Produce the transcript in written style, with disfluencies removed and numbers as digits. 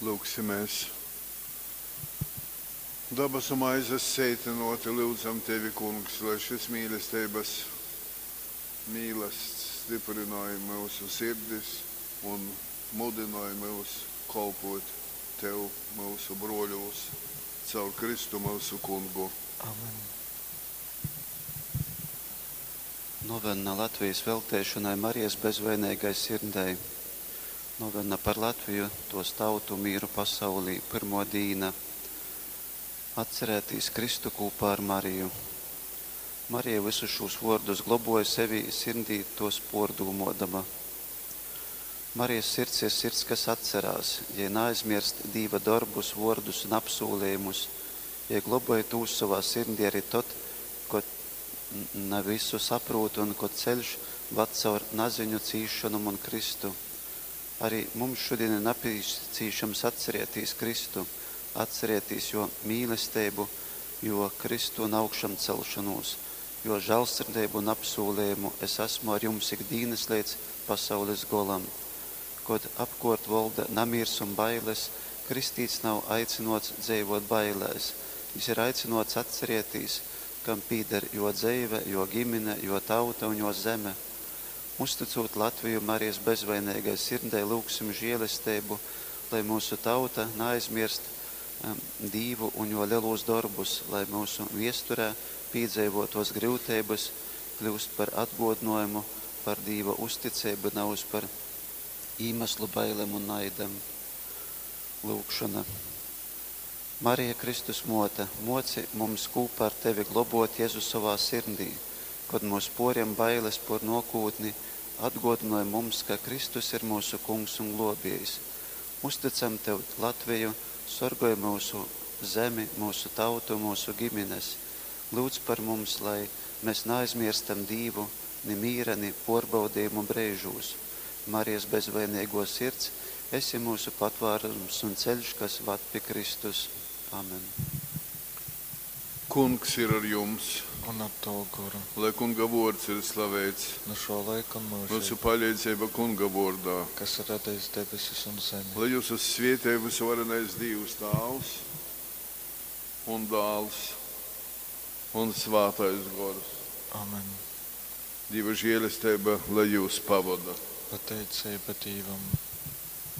Lūgsimies. Dabasu maizes seitinoti lyudzam Tevi, Kungs, lai šis mīlesteibas mīlasts styprynoj myusu sirdis un mudynoj myus kolpot Tev myusu bruoļūs caur Kristu myusu Kungu. Amen. Novenna Latvijas velteišonai Marijas bezvaineigai sirdei. Novenna par Latviju, tos tautu mīru pasaulī. Pyrmo dīna. Atcerētīs Kristu kūpā ar Mariju. Marija visus šūs vuordus globoja sevī, sirdī tos puordūmuodama. Marijas sirds ir sirds, kas atcerās, jei naaizmierst Dīva dorbus, vuordus un apsūlejumus, jei globoj tūs sovā sirdī ari tod, kod na visu saprūt un kod ceļš vad caur naziņu, cīsšonom un krystu. Ari mums šodien ir napīcīšams atcerēties Kristu, atcerēties jo mīlesteibu, jo Kristu un augšamcelšanos, jo žālsirdeibu un apsūlējumu es esmu ar jums ik dīnas līdz pasaules golam. Kod apkort volda namiers un bailes, kristīts nav aicinots dzeivot bailēs. Jis ir aicinots atcerēties, kam pīder jo dzeive, jo ģimene, jo tauta un jo zeme. Uzticot Latviju Marijas bezvainīgai sirdei, lūgsim žēlesteibu, lai mūsu tauta neaizmirst Dīvu un jo lielūs darbus, lai mūsu viesturē piedzīvotos grūtības kļūst par atgodinājumu, par Dīva uzticību, nevis par īmeslu bailēm un naidam. Lūgšana. Marija Kristus mote, moci mums kūpā ar tevi globot Jezu savā sirdī, kad mūs poriem bailes por nokūtni, atgodinoj mums, ka Kristus ir mūsu kungs un globējs. Uzticam tev Latviju, sorgoj mūsu zemi, mūsu tautu, mūsu ģimenes. Lūdz par mums, lai mēs neaizmirstam Dīvu, ni mīra, ni porbaudījumu brīžūs. Marijas bezvainīgo sirds, esi mūsu patvārums un ceļš, kas vad pie Kristus. Amen. Kungs ir ar jums, Un ar tavu goru. lai Kunga vuords ir slavēts. Nu šo laiku un Mūsu mūžīgi, palīdzība Kunga vordā. kas ir radījis debesis un zemi. Lai jūs uz svietē visvarenais Dievs Tāvs un Dāls un Svātais Gors. Amen. Dieva žēlestība, lai jūs pavada. Pateicība Dievam.